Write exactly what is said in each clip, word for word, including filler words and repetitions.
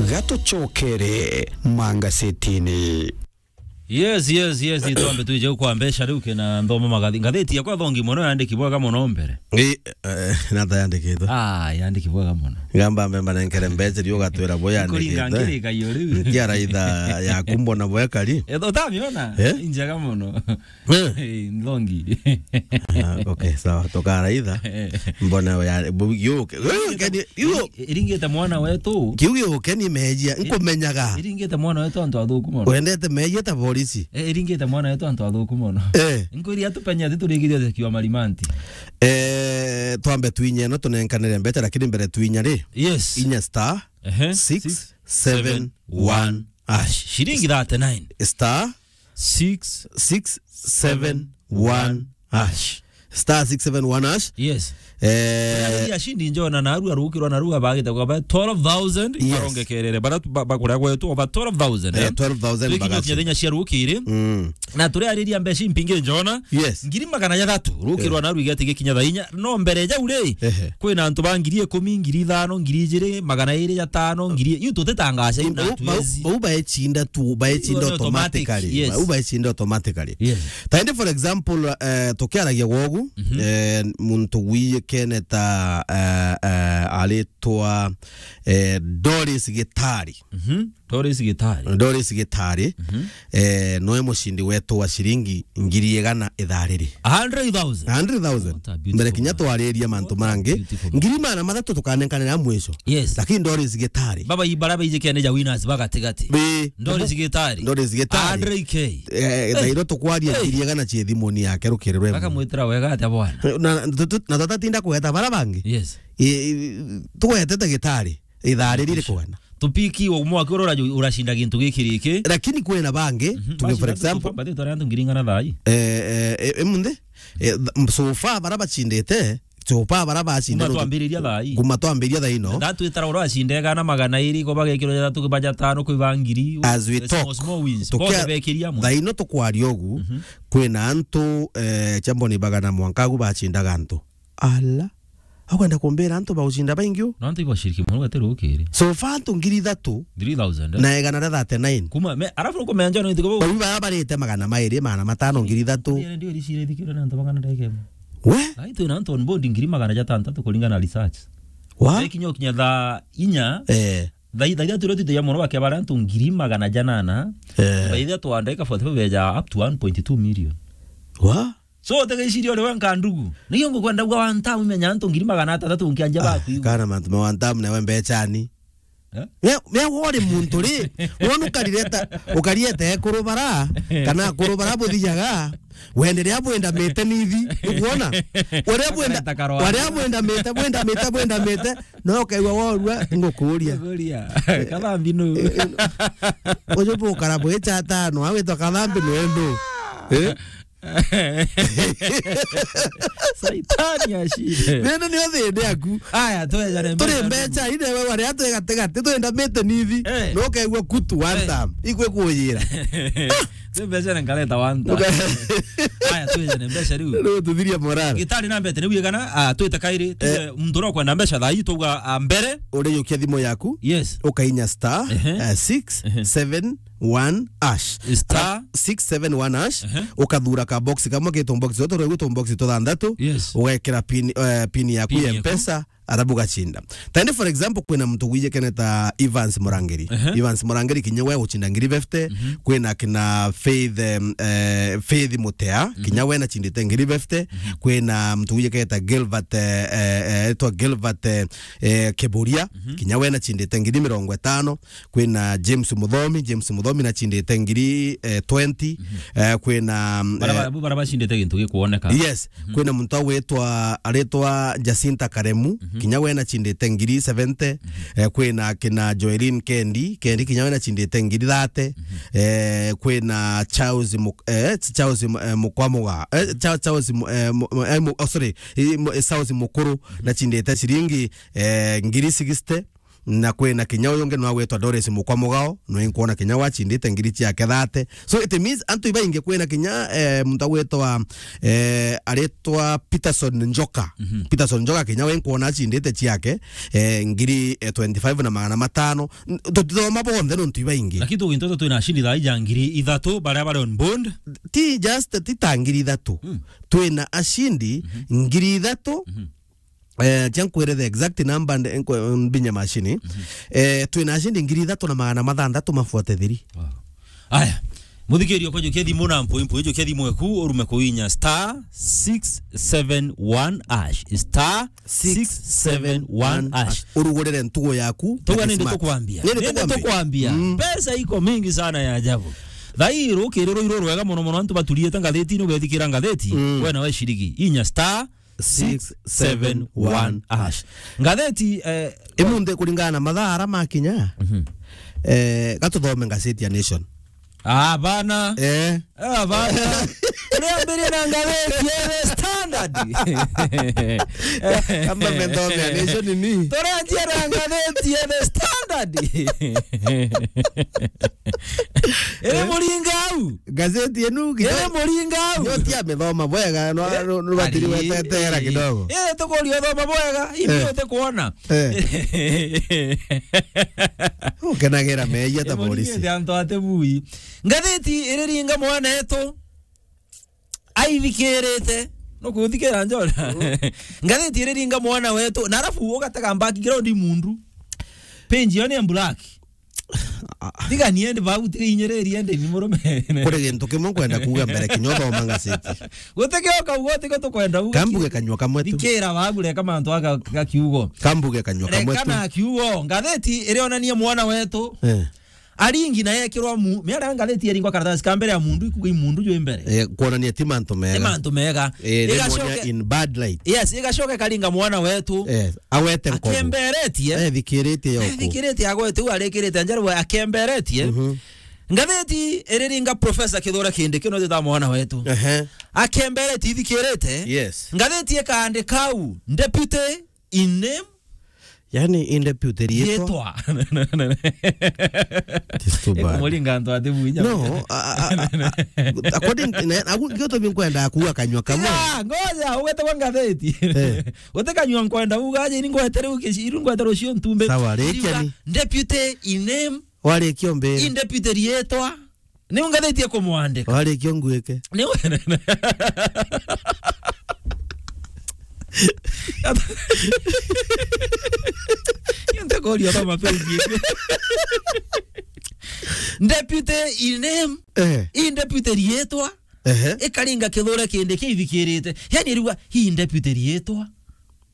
Gatucokere mangasetini. Yes, yes, yes, itwambe twije kwa mbeca riu kina nthoma magathi-, ngatheti yakwa thongi mono yandiki bwega mono mbere. Ii, eh, nata yandikitwe? Ah, yandiki bwega mono. Gamba mbe mbanenkere mbeca riu ugatwira bo yandikitwe. Kuringa ngirika iyo riu. Nkia raitha yaku mbona bwekari? Eh, utamiona? Eh? Njega mono. Eh? Eh, nthongi. Ah, okay, sawa. Tukaraitha. Eh. Mbona we ya-, bu-, yuke. Yuke ni, yu- Iringite mwana wetu. Kiu giuke ni mejia, nkumenyaga. Iringite mwana wetu antu athuku mono. Wendete mejia ta borisi. Eh, iringite mwana wetu antu athuku mono. Eh. Nkwiri atupenye ati turigithio kiwa marimanti. Eh, twambe twinye no tunenkanire mbeca, lakini mbere twinya ri. Yes. Inya star Ehe. six seven one hash. Shilingi thirty-nine. Star Six. six seven one hash. Star six seven one hash. Yes. Eh, ya shindi njona na arua rukirwa na arua bagite kwa ba twelve thousand, yes, barongekerere. Bara tu-, ba-, bakuria gwetu over twelve thousand, eh, eh? Twelve thousand. Twikinyia bagasi. Kinya thenya cia rukiri. Mm. Na turiariria mbeca impingi njona. Yes. Ngiri magana jathatu. Rukirwa, eh, na arua igati gikinya thainya. No mbere jau ri, ehe, kwina antu ba ngiri ikumi, ngiri ithano, ngiri ijiri, magana iri jatano, ngiri, iu tutitangaca, iu na bau, bau, tuezi. Bau baecinda tu, baecinda automatic, automatically. Yes. Bau baecinda automatically. Yes. Taindi, for example, eh, tukiaragia gwogu, mhm, eh, muntu wiyikene ta, eh, eh, aritwa, eh, Doris Gitari. Mhm. Doris Gitari. Doris Gitari, mhm, eh, noe mucindi wetu wa ciringi ngiri igana ithaa riri. A hundred thousand? A hundred thousand. What a beautiful man. Mbere kinya twariria mantu mangi. What a beautiful man. Ngiri magana mathatu tukanenkanira mwisho. Yes. Lakini Doris Gitari. Baba, i bara baijikene ja winners bagatigati. Bi- Doris Gitari. Doris Gitari. A hundred K. Eh, eh, thairo tukwaria, hey, ngiri igana cie thimuni yake rukiri rwe. Bakamwitira wega atia bwana? Na, na, tu-, tu-, na tutatinda kugeta bara bangi. Yes. I, i, tugwetete Gitari. Ithaa riri rikugana. Tupiki wa mwaka uria uracinda gintu giki riki. Lakini kwina bangi, mhm, tuge for example, bati twari antu ngiri igana thaa ii. Eh, eh, eh, emunthi? Eh, th-, m-, so far bara bacindite, so far bara bacindite. Kuma twambiriria thaa ii. Kuma twambiriria thaa ino. That twitara uria acinde igana magana iri, ko bagekirwo jathatu, baja tano, kwi ba ngiri. As we talk, small, small wins. Tukia-, bonthe bekiria amwe. Thaa ino tukwaria ugu, mhm, kwina antu, eh, chamboni bagana mwanka agu bacindaga antu. Ala. Akwenda kumbira antu baucinda baingi u? No antu ibashiriki mono gati rukiri. So far antu ngiri ithatu. Three thousand, eh? Na igana ria thirty-nine. Kuma, me, arafu nukumenya njona ntuko bau. Bau bara barite magana mairi, magana matano, ngiri ithatu. Ndio, ndio, ricire thikira na antu magana ndeke. We? Ai, twina antu on board ngiri magana jatantatu kuringana na research. Wa? Thaa ikinya ukinya thaa inya. Eh. Thaa, thaa ithatu ria twite ya mono bakia bara antu ngiri magana janana. Eh. Thaa ithatu andika forty-five beja up to one point two million. Wa? So, utegeciria uri we nkandugu. Nikio ngukwenda gwa one time umenya antu ngiri magana atantatu nkianja baku. Ah, kana mantu ma one time nawe mbechani. Eh? Me, me wori muntu ri, wona ukarireta, ukariete kurubara, kana kurubara buthijaga, wenderea bwendamite nithi, ukuona? Uria bwenda, ukareta karwara. Uria bwendamite, bwendamite, bwendamite, no ukaigua worua, ngukuria. Ngukuria. Kathambi nu? Eh, eh, uju bukara bwicha atano, awitwa Kathambi nwendu. Eh? Saitani ashinde. Nene nio thindi yaku. Aya, twejane. Turi mbeca, mbeca ine we wari atwe gati gati, twendamite nithi. Eh. No kegua kutu one time. Eh. Ikwe kujira. Twi mbeca na nkareta one time. Uka- Aya, twejane mbeca riu. Riu tuthiria morale. Gitari na mbete, riu igana, ah, twite kairi, tuge, eh, muntu ura ukwenda mbeca thaa ii, twauga, ah, mbere. Urijukia thimu yaku. Yes. Ukainya star, ehe, eh, six seven one hash. Ehe. Star. Six seven one hash, ehe, ukathura ka box kamwe, ke tu box tutu, rwegu tu box tuthanthatu, yes, ugekira pin, eh, pin yaku ya, pin yaku, Mpesa, arabu ugacinda. Tende, for example, kwina muntu wijikene ta Evans Murangiri. Ehe. Evans Murangiri kinya we ucinda ngiri fifty, mhm, kwina kina Faith, em, eh, Faith Mutea, mhm, kinya we nachindite ngiri fifty, mhm, kwina muntu wijikene ta Gilbert, eh, eh, eh, etwa Gilbert, eh, eh, Kiburia, mhm, kinya we nachindite ngiri mirongo itano, kwina James Muthomi, James Muthomi nachindite ngiri, eh, twenty, mhm, eh, kwina, mm, bara, eh, bara, bara bacindite gintu gikuoneka. Yes, mhm, kwina muntu agwitwa, aritwa Jacinta Karemu, mhm, kinya we nachindite ngiri seventy, mhm, eh, kwina kina Joelin Kendi, Kendi kinya we nachindite ngiri thirty, mhm, eh, kwina Charles Muk-, eh, Charles Mu-, eh, Mukwamuga, eh, Cha-, Charles Mu-, eh, Mu-, eh, Mu-, oh, sorry, eh, Mu-, eh, Charles Mukuru, mhm, nachindite ciringi, eh, ngiri sixty, Na kwina kinya uyu ungi nwa gwitwa Doris Mukwa Mugao, nwe nkwona kinya wachindite ngiri ciake thate. So it means antu ibaingi, kwina kinya, eh, muntu agwitwa, eh, aritwa Peterson Njoka. Mhm. Peterson Njoka kinya we nkwona achindite ciake, eh, ngiri, eh, twenty-five na magana matano. N-, tutithoma bonthe nontu ibaingi. Lakini tugintoto twina ashindi thaa ija ngiri ithatu baria bari on board. Ti just, ti ta ngiri ithatu. Mm. Twina ashindi, mhm, ngiri ithatu. Mhm. Eh, cia nkwire the exact number, nde-, nkwe-, mbinye macini. Mhm. Eh, twina ashindi ngiri ithatu na magana mathanthatu mafuate thiri. Wow. Aya. Muthikiria kwa jukia thimu na mpui mpui, jukia thimu eku, urume kuinya star six seven one hash. Star six seven one hash. Urugurire ntugo yaku. Tuga na nindi kismart. Tukwambia. Nindi tukwambia. Mm. Pesa iko mingi sana ya ajabu. Thairu kiriro iro rwega mono mono, antu baturiete ngatheti-ini, ugethikira ngatheti, mm, we nawe cirigi. Inya star six seven one hash. Ngatheti, eh, imunthi kuringana na mathaa ara makinya, mhm, eh, gatuthome ngaceti ya Nation. Ah, bana. Eh. Ah, bana. Uriambirie na ngatheti ya The Standard. Kamba methome ya Nation ni? Turanjia na ngatheti ya The Standard. Iri muringa au. Gazeti enu kidogo. Iri muringa au. Yo tia methoma bwega, no, eh, no, no batiri ari, wetetera kidogo. Eh, tukuria uthoma bwega, imbi, eh, utikuona. Eh. Ukenagira meeyia ta polisi. Iri muringa antu ate bui. Ngatheti iri ringa mwana etu. Aithikirite. No kuthikira njona. Mm. Ngatheti iri ringa mwana wetu. Na arafu ugatega background mundu. Page yo ni ya black. Tiga ni endi bau, tiga inyiriri endi ni murume. Kuri gintu kimwe nkwenda kuuga mbere kinya uthoma ngaceti. Gutikio kauga, tiga tukwenda uga. Kambuge kanyua kamwe tu. Thikira babu, reka mantu aga ga kiugo. Kambuge kanyua kamwe tu. Reka na kiugo. Ngatheti irionania mwana wetu. Eh. Aringi na yekirwa mu-, miaria ngatheti yeringwa karatasi ka mbere ya mundu, ikuga i mundu jwi mbere. Eh, kuonania ti mantu mega. Ti mantu mega. Eh, ni igacoke muonia in bad light. Yes, igacoke karinga mwana wetu. Eh, agwete nkobu. Akemberetie. Eh, thikiritie yoku. Thikiritie agwete, u arikirite njeru akemberetie. Mhm. Ngatheti iriringa Professor Kithure Kindiki, no jita mwana wetu. Ehe. Akemberetie, ithikirite. Yes. Ngatheti ikaandika u, Deputy in name. Yani, in deputy rietwa. Rietwa. It's too bad. Ikumuringa antu ati bui. No, a, a, a, a, according, ne, agu, gioto binkwenda kuwa kanyua kamwe. Ya, ngoja, ugete kwa ngatheti. Eh. Uti kanyua nkwenda uga, aje, ini ngwete riu kici-, iru ngwete rucio ntumbe. Sawa, rikia. Iriuga, ni? Deputy in name. Warikia umbire. In deputy rietwa. Ni ungathĩtie kumwandĩka. Warĩkia ũnguĩke. Ni we-, ntakoria kama page. Deputy in name. Eh. In deputy rietwa. Ehe. Ikaringa Kithure Kindiki ithikirite. Yani riuga, hii deputy rietwa.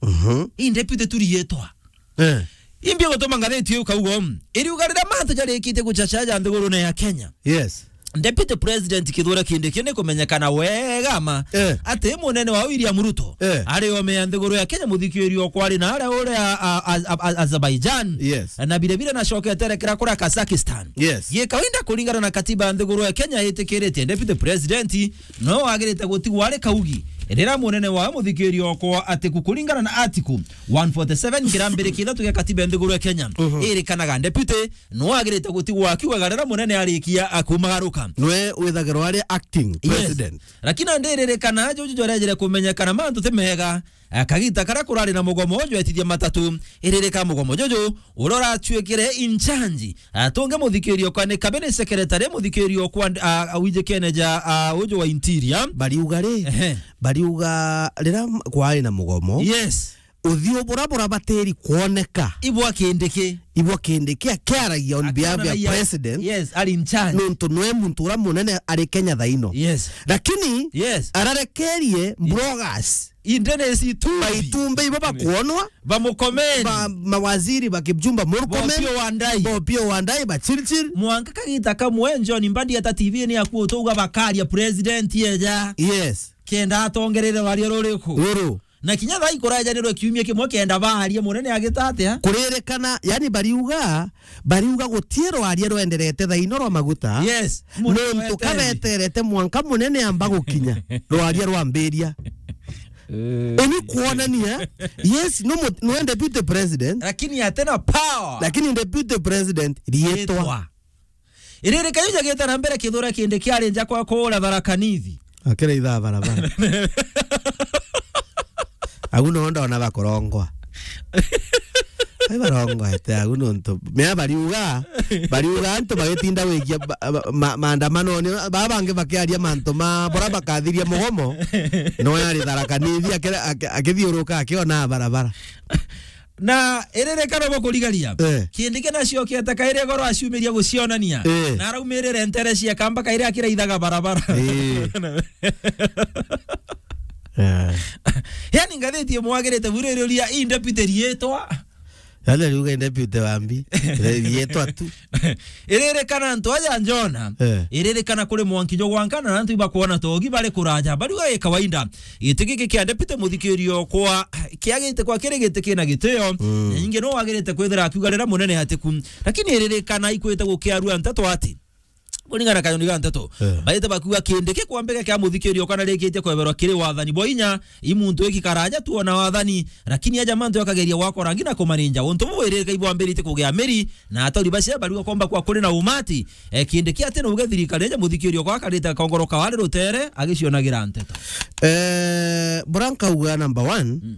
Mhm. Hii deputy tu rietwa. Eh. Imbi gutuma ngathĩti iu kauga, iriuga riria mantu jarikitie guchacha ja nthigurune ya Kenya. Yes. Deputy President Kithure Kindiki ni kumenyekana wega ma, eh, ati munene wa William Ruto, eh, ari ome ya nthiguru ya Kenya, muthikiririo kwari na aria uri a, a, a, a, Azerbaijan. Yes. Na bire bire na cokete erekera kuria Kazakhstan. Yes. Gi kawaida kuringana na katiba ya nthiguru ya Kenya itikiritie Deputy President no wagirite gutigwa ari kaugi. Riria munene wa muthikiririo okwa ati ku kuringana na article one forty-seven kirambiri kithatu gia katiba ya nthiguru ya Kenya, mhm, irikanaga deputy no agirite gutigwa akiugaga riria munene arikia akumagaruka. Nwe withagirwa ari acting, yes, president. Lakini ndiririkana juju jwarejere kumenyekana mantu ti mega. Akagita karia kurari na mugomo jwetithia matatu, iririka mugomo juju uria uratuikire in charge. Atunge muthikirio kwa ni cabinet secretary, muthikirio kwa, a, a, wijikene ja, a, uju wa interior. Bariuga ri, ehe, bariuga riria kwari na mugomo. Yes. Uthiu bura bura batiri kuoneka. Ibwa Kindiki. Ibwa Kindiki akiaragia on behalf ya president. Yes, ari in charge. Nontu nwe muntu uria munene ari Kenya thaino. Yes. Lakini, yes, ararekerie, yes, bloggers. Inde ni itumbi. Baitumbi ibo bakuonwa. Bamukomeni. Ba, mawaziri ba Kipchumba Murkomen. Ba Opiyo Wandayi. Ba Opiyo Wandayi, ba Chirchir. Mwanka kagita kamwe John Mbadi ata T V ni akuo tuga bakaria president eja. Yes. Kenda atongerere rwaria ruriku. Ruru. Na kinya thaa ikurajanirwe kiumia kimwe kenda baarie munene agita atia? Kuririkana, yani bariuga, bariuga gutie rwaria rwenderete thaino rwa maguta. Yes, munene nontu wetereire. Kabeterete mwanka munene amba gukinya, rwaria rwambiria. Eh. Ini kuonania, yes, no mu-, no deputy president. Lakini atena power. Lakini deputy president, rietwa. Rietwa. Iriri kayu jagita na mbere Kithure Kindiki ari nja kwa kuura Tharaka Nithi. Akira ithaa barabara. Agu no ndona bakurongwa. Ai barongwa ete agu no ntu. Mea bariuga, bariuga antu bagitinda wikia ba-, ba-, ma-, maandamano ni ba bangi bakiaria mantu ma bora bakathiria mugomo. No yari Tharaka Nithi akira-, aki-, akithiuruka akiona barabara. Na iririkana bo kurigaria. Eh. Kindiki nacio kieta kairi goro aciumiria gucionania. Eh. Na araumirire ntere cia kamba kairi akiraithaga barabara. Eh. Eh. Yani ngathiti imwagirite bure riuria i deputy rietwa. Yale riuga i deputy wa mbi. Rietwa tu. Iririkana antu aja Njona. Eh. Iririkana kuri mwanki jo gwankana na antu ibakwona togi bari kuraja. Bariuga i kawaida. Giti giki kia deputy muthikirio kwa kiagite kwa kiri giti kina gitio. Mm. Na ingi no wagirite kwithira akiuga rira munene atiku. Lakini iririkana ikwite gukiarua nteto ati. Kuringana kanyoni ga nteto. Eh. Baite bakiuga Kindiki kwambika kia muthikirio kana rikitie kweberwa kiri wathani bwa inya, i muntu iki karaja tu ona wathani, lakini aja mantu akageria gwakora ngi na kumaninja. Untu bu iririka ibwambirite kugia miri, na atori bacia bariuga komba kwa kuri na umati. Eh, Kindiki ati no uge thirikari eja muthikirio kwa akarite kongoro kawari rutere, agicionagira nteto. Eh, bura nkauga number one, mm.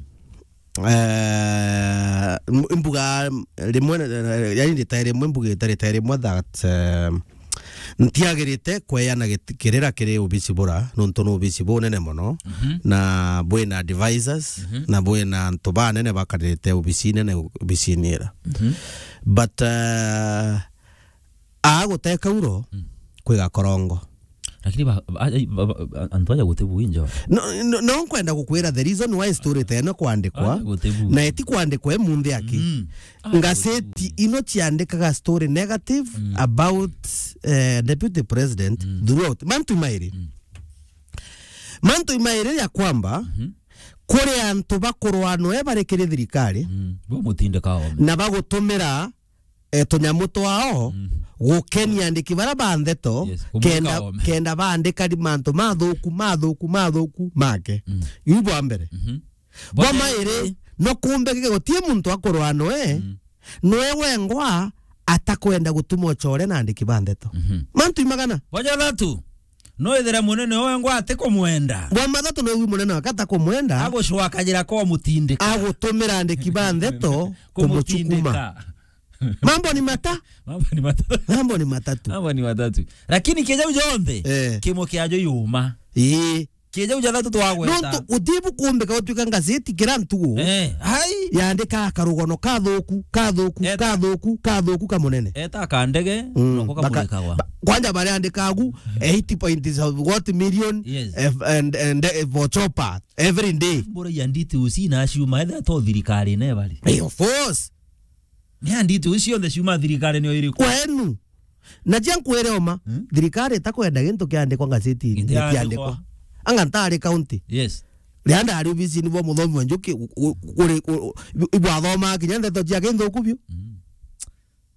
Eh, m-, mbuga rimwe, eh, yani rita rimwe, mbugite rita rimwe that, eh, ntiagirite kweana git-, kirira kiri obisi bura, nontu ni obisi bunene mono, mhm, na bwina advisors, mhm, na bwina antu banene bakarite obisi nene obisini ira. Mhm. But, eh, aa guteka uro, mm, kwiga korongo. Lakini ba, ba, ba, ba, antu aja guti bui njo. No, no, no nkwenda gukwira the reason why story ta ino kwandikwa, aja guti bui, na eti kwandikwa e munthi aki. Mm. Aja guti bui. Ngazeti ino ciandikaga story negative, mm, about, eh, deputy president, mm, throughout. Mantu mairi. Mm. Mantu mairi ya kwamba, mhm, kuri antu bakurwanwe bari kiri thirikari, mm, bo mutindika ome, na bagutumira eh, tunyamu twao, mm, gukenia andiki bara ba ndeto, yes, kumwika kenda, ome, kenda baandika ri-, mantu mathuku, mathuku, mathuku make. Mm. Iu bwa mbere. Mhm. Bwa mairi, no kumbe gige gutie muntu akurwa noe, mm, noe wengwa atakwenda gutuma ucore na andiki ba ndeto. Mhm. Mantu imagana. Bwa jathatu, no ithira munene wengwa atikumwenda. Bwa mathatu no iu munene wake atakumwenda. Agucwakajira kwa mutindika. Agutumira andiki ba ndeto kumutindika. Kumucukuma. Mambo ni mata-, Mambo ni matatu. Mambo ni matatu. Mambo ni matatu. Lakini kieja u jonthe, eh, kimwe kiajo yuma. Ii. Kieja u jathatu twagweta. Nontu utibu kumbika utuika ngazeti kira ntugu. Eh, hai. Yandika karugono kathuku, kathuku, eta, kathuku, kathuku kamunene. Eta kandege, mm, noko baka-, kamurikagwa. Ba-, kwanja bariandikagu eighty point what million, yes, eh, and, and, eh, for chopper every day. Mbura ya nditi usi na ciuma, etha to thirikari ne bari. Eh, of course. Ni anditi ucio cionthe ciuma thirikari nio iriku? Kwenu. Na cia nkwire oma, hmm? Thirikari itakwenda gintu kiandikwa ngazeti-ini, gitiandikwa. Gitiandikwa. Anga ntari county. Yes. Ria ndari obisi-ini bwa muthomi wa Njuki, u-, u-, kuri, u-, u-, ibwathoma kinya ndeto cia kinthuku biu. Mm.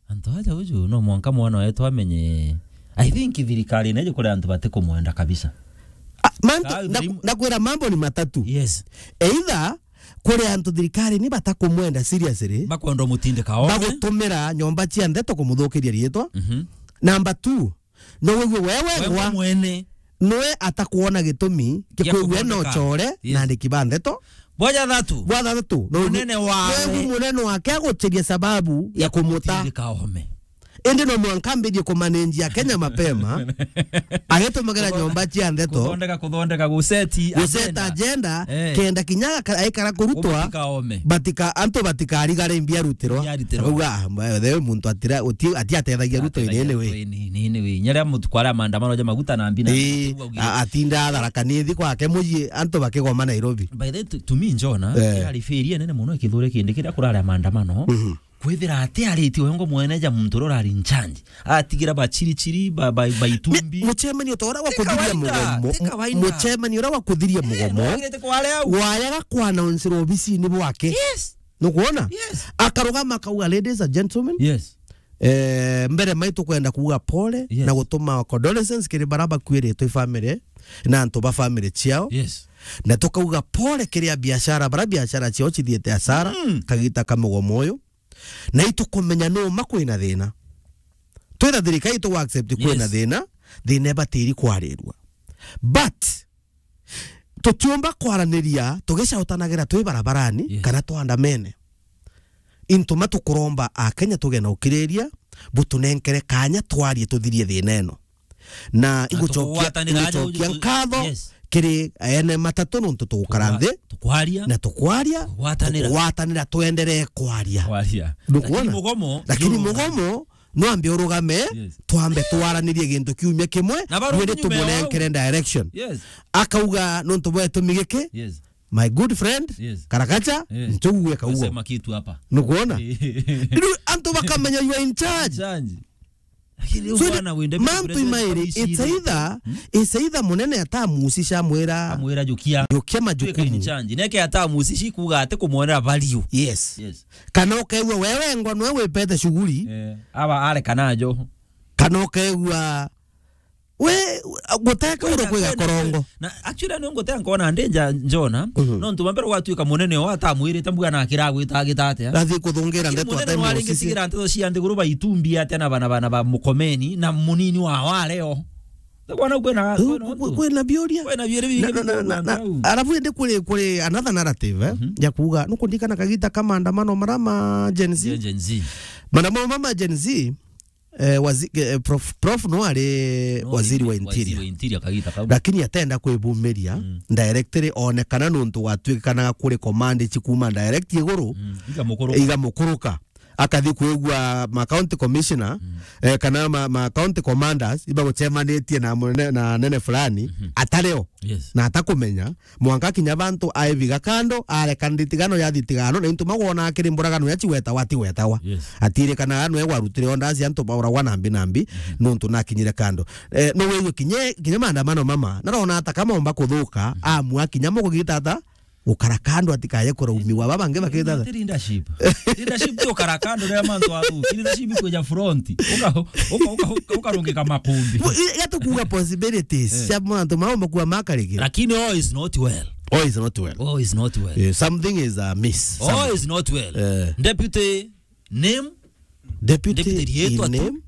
Antu aja uju no mwanka mwana wetu amenye. I think thirikari neje kuri antu batikumwenda kabisa. Ah, mantu, ka-, na, very mu-, nakwira mambo ni matatu. Yes. Either kuri antu thirikari ni batakumwenda seriously. Bakwenda umutindika ome. Bagutumira nyomba cia ndeto kumuthukiria riitwa. Mhm. Number two, no wigue wewe, wewe ngwa mwene. Nwe atakuona gitumi kia kikwigua no kuthondeka. Core, yes, na andiki ba ndeto. Bwa jathatu. Bwa jathatu, no munene wawe. Wewe munene wake aguchiria sababu ya kumuta. Kumutindika ome. Indi no mwanka ambithie kumanenjia Kenya mapema, agitumagira nyomba cia ndeto. Kuthondeka, kuthondeka, guseti, guseta agenda. Agenda, eh, kenda kinya aka-, aikara kurutwa, kumutindika ome. Batika-, antu batikarigare mbia rutirwa. Mbia rutirwa. Auga, ah, mba-, the muntu atira-, uti-, atiatethagia Ruto. Atethagia inene we. Ruto inene we. Nyaria mutuku aria maandamano ja maguta na mbina. Ii, a-, atinda Tharaka Nithi kwake muji, antu bakigoma Nairobi. By the way, to, to me, Njona, eh, irari failure nene muno ikithure kindi kiria kurari maandamano. Mhm. Kwithira ati ariti wengo mwene ja muntu uria urari in charge. Atigira bachirichiri, ba, ba, ba itumbi. Ni, muchemanio ta uria wa kuthiria mugomo. Ti kawaida, ti kawaida. Muchemanio uria wa kuthiria mugomo. Eh, no agirite kware au. Wayaga kwa announce obisini bwake. Yes. Nukwona? Yes. Akarugama akauga, "Ladies and gentlemen." Yes. Eh, mbere mai tukwenda kuuga pole, yes, na gutuma condolences kiri bara bakuiritwe family na antu ba family ciao. Yes. Na tukauga pole kiri a biashara, bara biashara ciao cithiite hasara, mm, kagita ka mugomo uyu. Na itukumenya numa kwina thina. Twitha thirikari itu accept kwina, yes, thina, thina ibatiri kwarirua. But tutiumba kwaraniria tugicautanagira twi barabarani, yes, kana twandamene. Intuma tukuromba Akenya tuge na ukiriria, butunenkere kanya twarie tuthirie thina ino. Na na igucokia, tukuwatanira aja igucokia uju-, nkatho, yes, kiri ene matatu nontu tugukara nthi tukwaria, na tukwaria, tukwatanira, tukwatanira, twenderee kwaria. Kwaria. Ndukwona? Lakini mugomo, lakini mugomo, no ambe urugame, yes, twambe twaranirie gintu kiumia kimwe, na barugi nyuma ya tumunenkere direction. Yes. Akauga, "Nontu bwa gitumi giki, yes, my good friend, yes, Karakacha, yes, nchogue kauo." Sema kitu hapa. Nukuona? Riu antu bakamenya you are in charge. Charge. Lakini so, bwana wende mantu imairi, it's either, hmm? It's either munene atamusica mwira, amwira jukia, jukia majukumu. Change. Neke atamusici kuga ati kumwonera value. Yes. Yes. Kana ukaigua wewe ngwa nwe wipete shughuli. Eh, aba are kana jo. Kana ukaigua we guteka uro kwiga korongo. Na actually, ni nguteka nkona ndenja njona, mhm, no ntu mbere gwatuika munene o atamwirite mbuga na akira gwita agita atia. Gathi kuthungira ndeto atemwira. Munene no aringitigira nteto cia nthiguru baitumbi atia na bana, bana ba mukomeni na munini wa wareo. Kwana kwena, kwena biuria. Kwena biuria bingi. Alafu indi kuri, kuri another narrative, eh, mhm, ya kuuga, nukundikana kagita ka maandamano mara ma Gen Z. Gen, Gen Z. Maandamano mama Gen Z, eh, wazi-, eh, Prof, Prof no ari, no, waziri wa interior. Waziri wa interior kagita kau. Lakini atenda kwibumiria, mm, directly one kana nontu gwatuikanaga kuri command ci kuma direct iguru, mm, igamukuruka. Igamukuruka. Akathi kwigua ma county commissioner, mm, eh, kana ma, ma county commanders ibagucemanitie na munene, na nene fulani, mhm, atareo. Yes. Na atakumenya, mwanka kinya bantu aiviga kando, areka nditigano ya thitigano, na into magwona akiri mburagano ya ciwetawa, atiwetawa. Yes. Atirikanaga nwe gwarutire onda aci antu bauragwa nambi nambi, mhm, nontu nakinyire kando. Eh, no wigwe kinya, kinya maandamano mama, narona ata kama omba kuthuka, mhm, amua kinya mugugita ata, gukara kando atikaye kuraumiwa. Baba bangi bakita ata? Leadership. Leadership ti ukara kando ria mantu athuki. Leadership kwija front. Uka, uka, uka, uka, ukarungika makumbi. Bo, i-, ya tukuga possibilities, eh, cia mantu mau makua makarigire. Lakini all is not well. All is not well. All is not well. Eh, something is amiss. All is not well. Eh. Deputy name. Deputy, deputy rietwa tu. Name.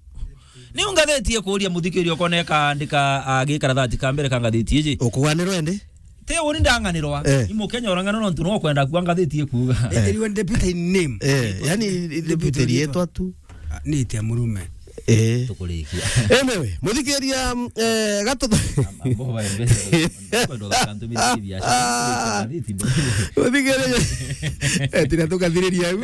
Ni ngatheti ikuria muthikiria ukona ikaandika, ah, gikarathati ka mbere ka ngatheti iji. Ukuganirwa indi? Ti uni ndanganirwa. Eh. Ni Mukenya urang'anirwa nontu no kwenda kua ngatheti ikuga. Eh. Iriwe deputy name. Eh, yani deputy rietwa tu. Ah, ni tia murume. Eh. Tukurikia. Anyway, muthikiria, mm, eh, gatu- Am-, ambo ba mbere. Kwenda kantu miri biashara. Muthikiria. Eh, tina tukathiriria au.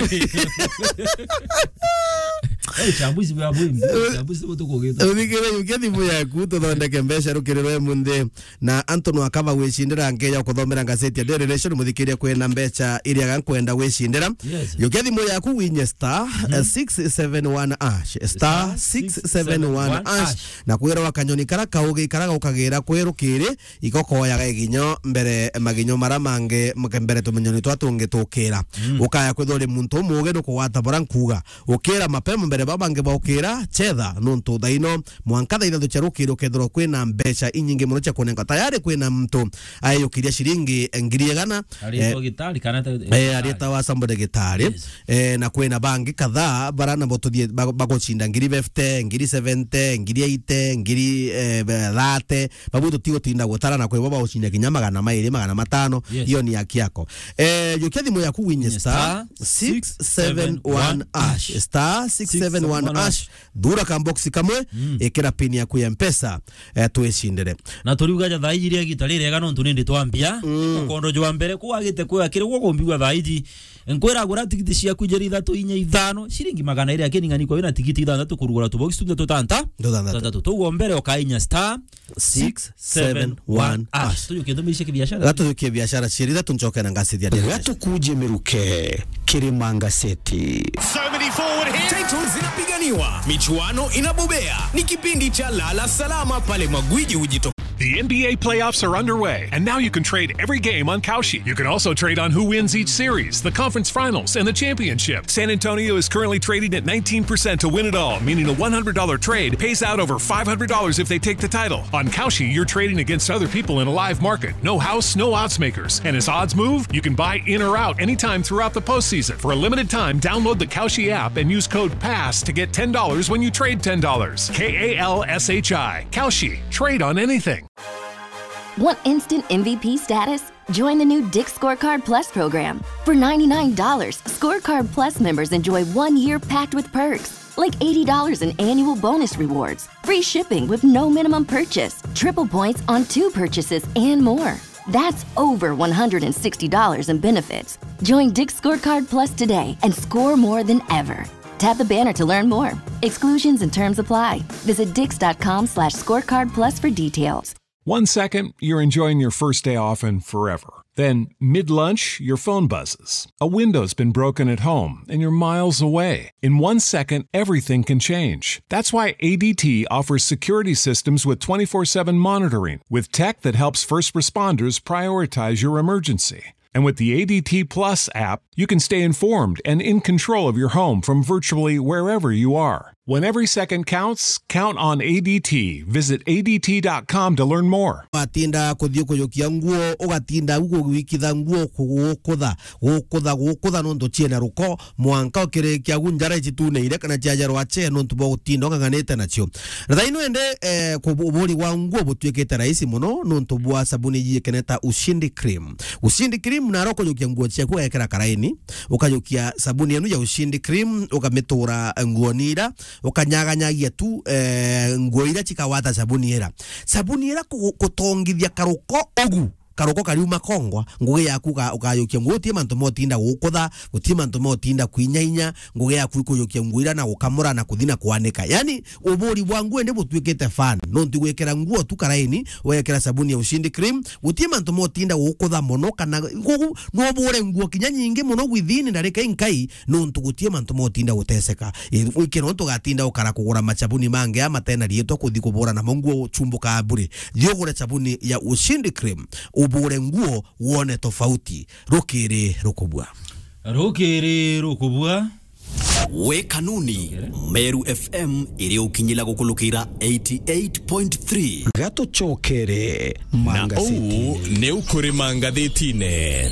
Eh, uchambuzi wa bwimbi, uchambuzi butukugita. Muthikiria, jukia thimu yaku, tuthondeke mbeca rukiri rwe munthi. Na antu no akaba gwicindira nkeya kuthomera ngazeti ya Daily Nation, muthikiria kwina mbeca iria gankwenda gwicindira. Yes. Jukia thimu yaku winye star, mhm, eh, six seven one hash. Star six seven one hash. Star six seven one hash. Na kwira wa kanyoni kara kaugi kara gukagira kwerukiri, ikokoyaga iginyo mbere maginyo mara mangi, mke mbere tumenyoni twa tungi tukira. Mm. Ukaya kwithwa uri muntu umugi nukugwata bura nkuga. Ukira mapema mbere ba bangi baukira, chetha, nontu thaino mwanka thaa ithatu cia rukiri ukethirwa kwina mbeca inyingi muno cia kunenka. Tayari kwina muntu ayukiria ciringi ngiri igana, aritwa, eh, gitari kana ta-, eh, gitari. Arietawa somebody gitari. Yes. Eh, na kwina bangi kadhaa bara nabo tuthie ba-, bagucinda ngiri fifty, ngiri seventy, ngiri eighty, ngiri, eh, thirty. Babu tutigo tinda gutara na kwibo bagucinda kinya magana mairi, magana matano. Yes. Iyo ni haki yako. Eh, jukia thimu yaku winye star six seven one hash. Star six seven one hash. Thura ka box kamwe, mm, ikira pin yaku ya Mpesa, eh, twicindire. Na turiuga ja thaa iji ria gita rirega nontu nindi twambia. Mm. Mukondo jwa mbere kwagite kwira kiri gwo kumbigwa thaa iji. Nkwira gura tigiti ciaku njeri ithatu inya ithano, ciringi magana iri, lakini ng'ani kwa wina tigiti ithanthatu kurugura tubox tuthatu tanta. Tuthantatu. Tuthantatu. Tuguo mbere ukainya star six seven one hash. Tujukie ndumirishe kibiashara. Gatujukie biashara cieri ithatu ncoke na ngacithia. Gatukuje miruke, Kirima Ngaseti. So many forward here. Titles zinapiganiwa, michuano inabobea. Ni kipindi cha Lala Salama pale magwiji hujitokeza. The N B A playoffs are underway, and now you can trade every game on Kalshi. You can also trade on who wins each series, the conference finals, and the championship. San Antonio is currently trading at nineteen percent to win it all, meaning a one hundred dollar trade pays out over five hundred dollars if they take the title. On Kalshi, you're trading against other people in a live market. No house, no odds makers. And as odds move, you can buy in or out anytime throughout the postseason. For a limited time, download the Kalshi app and use code pass to get ten dollars when you trade ten dollars. K A L S H I. Kalshi. Trade on anything. Want instant M V P status? Join the new Dick Scorecard Plus program. For ninety-nine dollars, Scorecard Plus members enjoy one year packed with perks, like eighty dollars in annual bonus rewards, free shipping with no minimum purchase, triple points on two purchases, and more. That's over one hundred sixty dollars in benefits. Join Dick Scorecard Plus today and score more than ever. Tap the banner to learn more. Exclusions and terms apply. Visit dix dot com slash scorecard plus for details. One second, you're enjoying your first day off and forever. Then, mid lunch, your phone buzzes. A window's been broken at home and you're miles away. In one second, everything can change. That's why A D T offers security systems with twenty-four seven monitoring, with tech that helps first responders prioritize your emergency. And with the A D T Plus app, you can stay informed and in control of your home from virtually wherever you are. When every second counts, count on A D T. Visit A D T dot com to learn more. Watinda kuthii kujukia nguo, ugatinda u kuwikitha nguo, kugukutha, gukutha, gukutha nontu ciena ruko, mwanka ukirikia u njara icituneire kana ciajarwa ce nontu bwa gutinda ung'ang'anite nacio. Thaino ende, eh, ku-, uburi wa nguo butuikite rahisi muno nontu bwa sabuni yijikene ta Ushindi Cream. Ushindi Cream naro kujukia nguo ciaku ugekira karaini, ukajukia sabuni enu ya Ushindi Cream, ukamitura nguoni ira, ukanyaganyagia tu, eh, nguo ira cikawata sabuni ira. Sabuni ira ku-, kutongithia karuko ugu, karuko kariuma kongwa, ngugi yaku uka-, ukajukia nguo, guti mantu motinda gukutha, guti mantu motinda kwinyainya, ngugi yaku ikujukia nguo ira na gukamura na kuthi na kwanika. Yani, uburi bwa nguo indi butuikite fan. Nontu gwikira nguo tu karaini, wekira sabuni ya Ushindi Cream, guti mantu motinda gukutha muno kana gugu no ubure nguo kinya nyingi muno within ndarika inkai, nontu guti mantu motinda guteseka. Wiki no tugatinda ukara kugura macabuni mangi a matena riitwa kuthi kubura namo nguo chumbuka bure. Thi ugure sabuni ya Ushindi Cream, ubure nguo wone tofauti. Rukiri rukubua. Rukiri rukubua. Wi Kanuni, Meru F M iri ukinyila gukulukira eighty eight point three. Gatucokere. Na uu ni ukuri mangathitine.